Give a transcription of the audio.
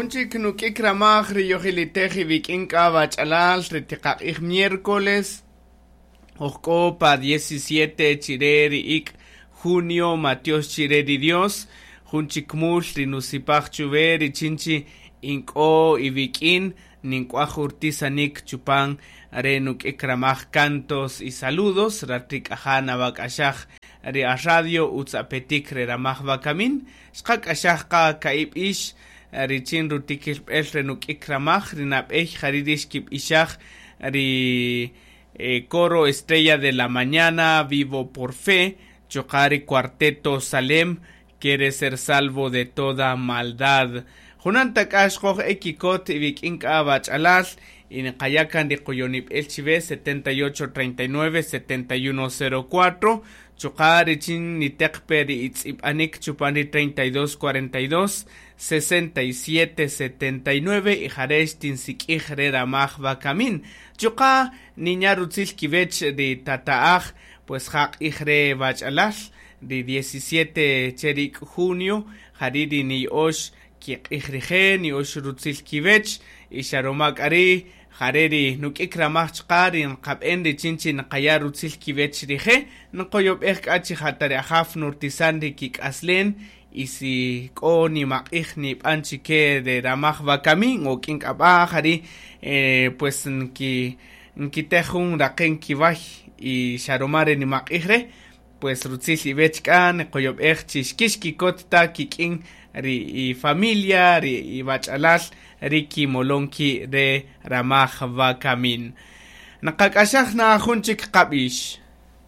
Jun chik nuk'ik ramaj ri yojilitej iwik'in k'a wach'alal ri tiqaq'ij miércoles oj k'o pa 17 chire ri ik' junio matyox chire ri Dios jun chik mul ri nusipaj chuwe richin chi ink'o iwik'in nink'waj urtisanik chupan re nuk'ik ramaj cantos y saludos rat ri k'aja nawak'axaj ri a radio utz apetik re ramaj wakamin xqak'axaj qa ka'i' b'ix richin rutikilb'el re nuk'ik ramaj ri nab'ey jari' ri xkib'ixaj ri coro Estrella de la Mañana Vivo por Fe chuqa' ri Cuarteto Salem Quiere ser salvo de toda maldad. Junan ta k'a xqoj e kikot iwik'in k'a wach'alal y niqaya' kan ri qoyonib'el chiwe 78 39 71 04 chuqa' richin niteq pe ri itz'ib'anik chupan ri 32 42 67 79 y jare' xtinsik'ij re ramaj wakamin. Chuqa' ninya' rutzil kiwech ri tata'aj pues ja q'ij re wach'alal ri 17 che ri ik' junio jari' ri niya'ox kiq'ij rije' niya'ox rutzil kiwech y xa ruma k'a ri' jare' ri nuk'ik ramaj chuqa' ri nqab'en richin chi nqaya' rutzil kiwech rije' nqoyob'ej k'a chi ja ta ri Ajaw nurtisan ri kik'aslen y si k'o nimaq'ij nib'an chike re ramaj wakamin o k'in k'a b'a' jari' pues nki nkitej jun raqen kiway y xa ruma re nimaq'ij re' pues rutzil iwech k'a niqoyob'ej chi xkixkikot ta kik'in ri i-familia ri iwach'alal ri kimolon ki' re ramaj wakamin. Nqak'axaj na jun chik qab'ix.